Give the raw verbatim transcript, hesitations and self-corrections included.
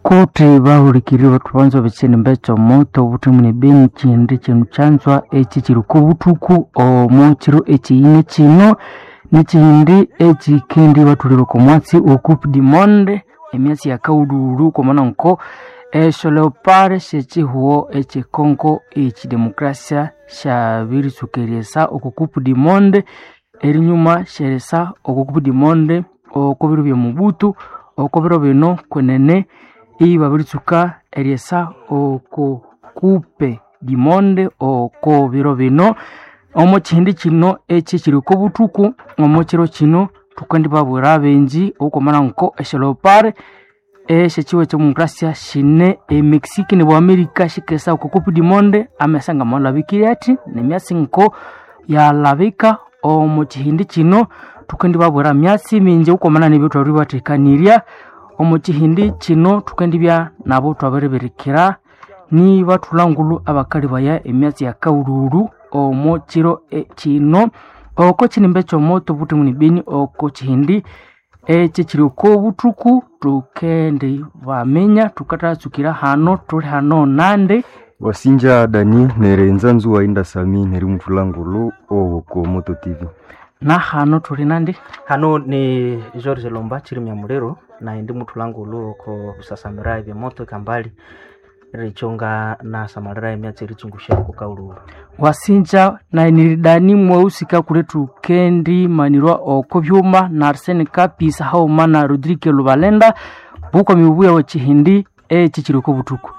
Kuti bahulikirire bathubanza bekyinimba ekyomoto obuthemu nebeni kyindi kyinu kyanzwa ekyi kiri okobuthuku omo kiro ekyiyine kino nikyindi ekyikendi bathulira oko mwatsi o Coupe du Monde emyatsi ya kaghulhulhu kwamana nko esyo leopard syekyihugho ekye Congo ekyidemokrasia syabiritsuka eryesa oko Coupe du Monde erinyuma syerisa oko Coupe du Monde oko biro bya Mobutu oko biro bino kwenene ibabiritsuka eryesa oko Coupe du Monde oko biro bino omo kyihindi kino ekyi kiri oko buthuku omo kiro kino thukendibabwira abenji okwamana nko esyo leopard esyekyihugho ekyedemokrasia syine e Mexico ne America syikesa oko Coupe du Monde amesa ngamalhabikirye athi nemyatsi nko yalhabika omo kyihindi kino thukendibabwira myatsi mingi okwamana nebyo thwabiribathekanirya omo kyihindi kino thukendibya nabo thwabiribirikira nibathulha abakalibaya emyatsi ya kaghulhulhu omo kiro kino oko kyinimba ekyomoto obuthemu nebeni oko kyihindi ekyi kiri oko buthuku thukendibaminya thukathatsukira hano thuli hano nandi Wasinja Dani nerenza nzuwa inda Sami neri muthulangulu owoko Moto T V. Na hano thuli nandi? Hano ni George Lomba chirimya muliro na ndi muthulangulu oko busasamira ebyemoto ekambali richonga nasamalira emyatsi eritsungusha oko kaghulhulhu. Wasinja nainiridani mwausika kuli thukendi manirwa oko byuma na Arsene Kapisa hauma na Rodrigue Lubalenda bukwami obuya bwe kyihindi ekyi kiri oko buthuku.